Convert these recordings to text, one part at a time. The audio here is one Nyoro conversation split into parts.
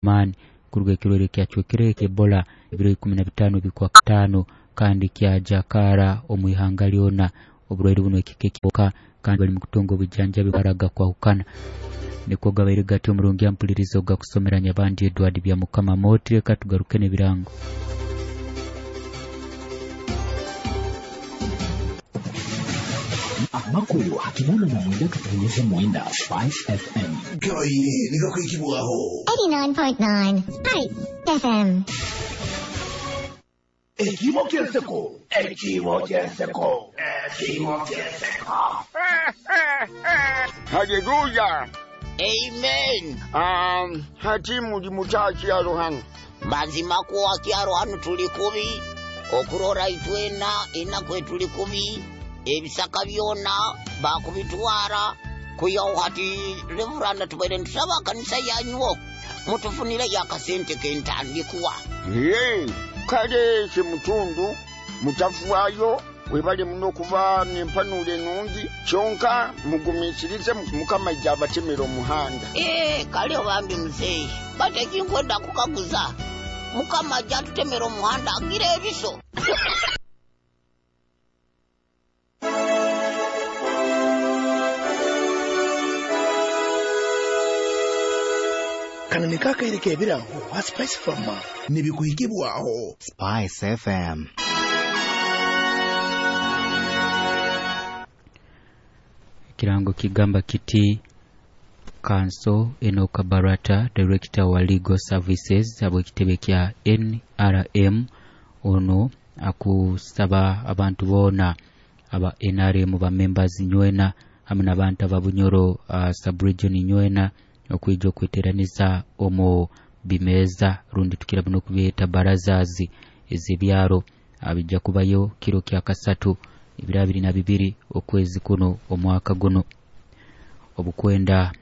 Amaani kuruga ekirwaire kyacwekere Ebola ebiro 15 bikwakataano kandi kyajakaara omu ihanga lyona. Oburwaire buno ekika ekyoka kandi bali mukutunga obujanjabi bwaraga kwahukana. Nikwo gabaire gati omurungi ampuliriza ogakusomera Nyabandi Edward Byamukama Moti. Leka tugaruke n'ebirango. Amakuru ha 89.9 Spice FM. Gabaire nigakwikibwaho. 89.9 Spice FM. Ekibo ky'enseko. Ekibo ky'enseko. Ekibo ky'enseko. Haleluya. Amen. Hati muli mutakyalo hano. Mazima kwo akyalo hano tuli kubi, okurora itwena enaku etuli kubi, ebisaka byona bakubitwara kuyaho hati reveranda tubaire nitusaba kanisa yanywo mutufunire yakasente kentandikwa. Ye, kale semutundu mutafuayo webale muno kuba nempanula enungi kyonka mugumiikirize Mukama ajja abatemera omuhanda. Kale bambi muzeeyi batekinkwenda kukaguza Mukama ajja atutemera omuhanda agira ebiso. Kano niko akaire k'ebirango ha Spice Farmer nibikuhikibwaho. Spice FM. Ekirango kigamba kiti Kanso Enoka Barata, Director wa Legal Services abw'ekitebe kya NRM, ono akusaba abantu boona aba NRM ba members nywena hamwe n'abantu aba Bunyoro sub-region nywena okwija okweteraniza omu bimeeza rundi tukira buno kubyeta barazazi ez'ebyaro. Bijja kubayo kiro kya kasatu ebiro abiri na bibiri okwezi kuno omwaka guno. Obukwenda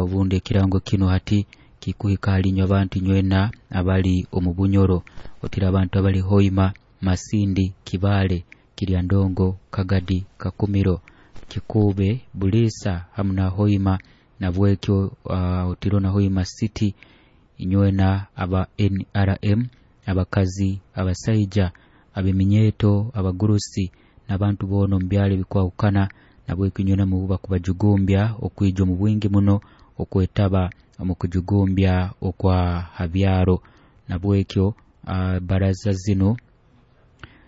obundi ekirango kino hati kikuhika halinywe abantu nywena abali omu Bunyoro, otira abantu abali Hoima, Masindi, Kibale, Kiryandongo, Kagadi, Kakumiro, Kikube, Bulisa hamu na Hoima nabwekyo otiro na Hoima City inywena aba NRM, abakazi, abasaija, abeminyeto, abagurusi n'abantu boona omu byalo ebikwahukana nabwekyo inywena mububa kubajugumbya okwija omu bwingi muno okwetaba omu kujugumbya okwa habyaro. Nabwekyo baraza zino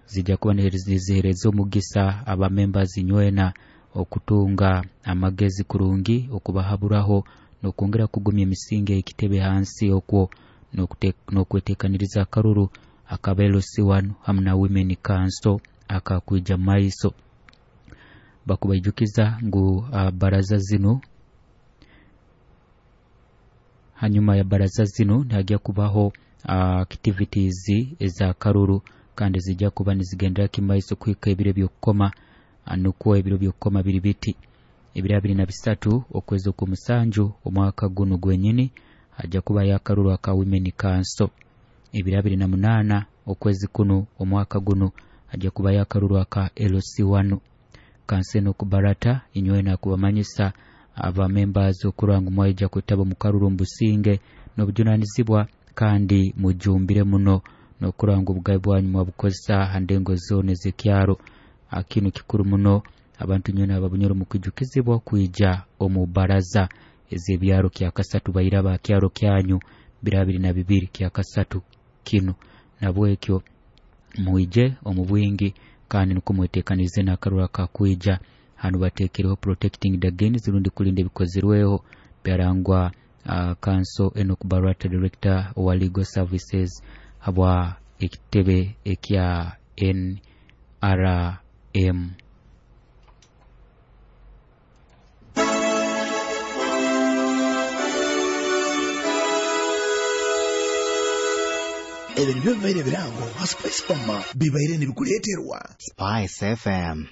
zijja kuba nizihereza omugisa aba members nywena okutunga amagezi kurungi, okubahaburaho n'okwongera kugumya emisingi ekitebe hansi okwo n'okwetekaniriza akaruru akaba LC1 hamu na Women Council akakwija maiso. Bakubaijukiza ngu baraza zino, hanyuma ya baraza zino nihajya kubaho activities eza karuru kandi zijja kuba nizigendera kimaiso kuhika ebiro by'okukoma. Nukwo ebiro by'okukoma biri biti ebiro 23 okwezi okw'omusanju omwaka guno gwenyini hajja kuba yakaruru aka Women Council. Ebiro 28 okwezi kuno omwaka guno hajja kuba yakaruru aka LC1. Kanseno kubarata inywena kubamanyisa aba members okurangu mwaija kwetaba mu karuru mbusinge n'obujunanizibwa kandi mujumbire muno n'okuranga obugabe bwanyu mwabukozesa ha ndengo zone z'ekyaro. Kinu kikuru muno abantu nywena ababunyoro mukwijukizibwa kwija omu baraza ez'ebyaro kya kasatu baira ba kyaro kyanyu biro 22 kya kasatu kino. Nabwekyo mwije omu bwingi kandi nukwo mwetekanize n'akaruru akakwija. Hanu bateekereho protecting the gains rundi kulinda ebikozirweho byarangwa Kanso Enoch Barata, Director wa Legal Services habwa ekitebe ekya NRM. Ebyo nibyo bibaire ebirango ha Spice Farmer bibaire nibikuleeterwa Spice FM.